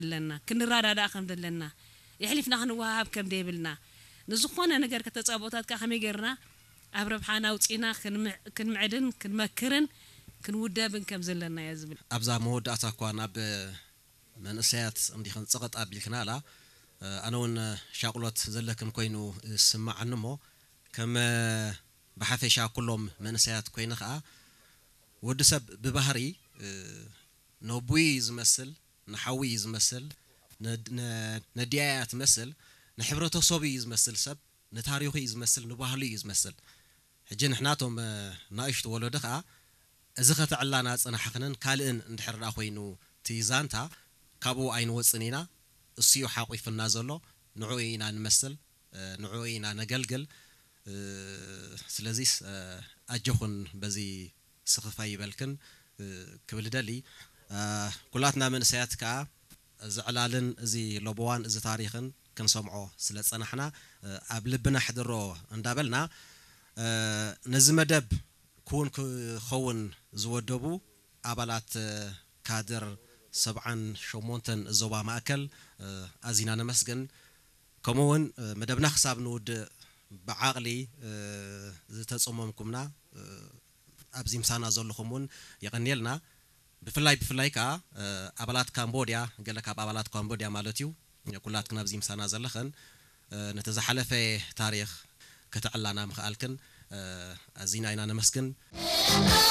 ኣለና፣ ክንረዳዳእ ከም ዘለና፣ የሕሊፍና ክንወሃሃብ ከም ዘይብልና፣ ንዝኾነ ነገር ከተፃቦታት ከዓ ከመይ ገይርና ኣብ ረብሓና ኣውፂና ክንምዕ-፣ ክንምዕድን ክንመክርን ክንውደብን ከም ዘለና እየ ዝብል። ኣብዛ መወዳእታ እኳ ናብ መንእሰያት እንዲኽን ጸቐጥ ኣቢልክናላ፣ ኣነ እውን ሻቕሎት ዘለክን ኮይኑ ዝስምዓኒ እሞ፣ ከም ብሓፈሻ ኩሎም መንእሰያት ኮይነ ኸኣ፣ ወዲ ሰብ ብባህሪ ነቡይ እዩ ዝመስል፣ ንሓዊ እዩ ዝመስል፣ ነ-፣ ነ-፣ ነዲያያ ትመስል፣ ንሕብረተሰቡ እዩ ዝመስል ሰብ፣ ንታሪኹ እዩ ዝመስል፣ ንባህሉ እዩ ዝመስል። ሕጂ ንሕናቶም ናእሽቱ ወለዶ ኸኣ እዚ ከተዕላና ጽናሕኽንን ካልእን እንድሕር ደኣ ኮይኑ እቲ ዛንታ ካብኡ ኣይንወጽን ኢና። እሱ እዩ ሓቂፉና ዘሎ፣ ንዕኡ ኢና ንመስል፣ ንዕኡ ኢና ነገልግል። ስለዚስ ኣጆኹን በዚ ስኽፍ ኣይበልክን ክብል እደሊ። ኩላትና መንእሰያት ከኣ እዚ ዕላልን እዚ ለበዋን እዚ ታሪኽን ክንሰምዖ ስለ ዝጸናሕና ኣብ ልብና ሕድሮ እንዳበልና ነዚ መደብ ክውን ክኸውን ዝወደቡ ኣባላት ካድር ሰብዓን ሸሞንተን ዞባ ማእከል ኣዚና ነመስግን። ከምኡ እውን መደብና ክሳብ ንውድእ ብዓቕሊ ዝተጸመምኩምና ኣብዚ ምሳና ዘለኹም እውን የቐንየልና። ብፍላይ ብፍላይ ከኣ ኣባላት ካምቦድያ፣ ገለ ካብ ኣባላት ካምቦድያ ማለት እዩ፣ ኩላትክን ኣብዚ ምሳና ዘለኽን ነቲ ዝሓለፈ ታሪኽ ከተዕላና ምኽኣልክን ኣዚና ኢና ነመስግን።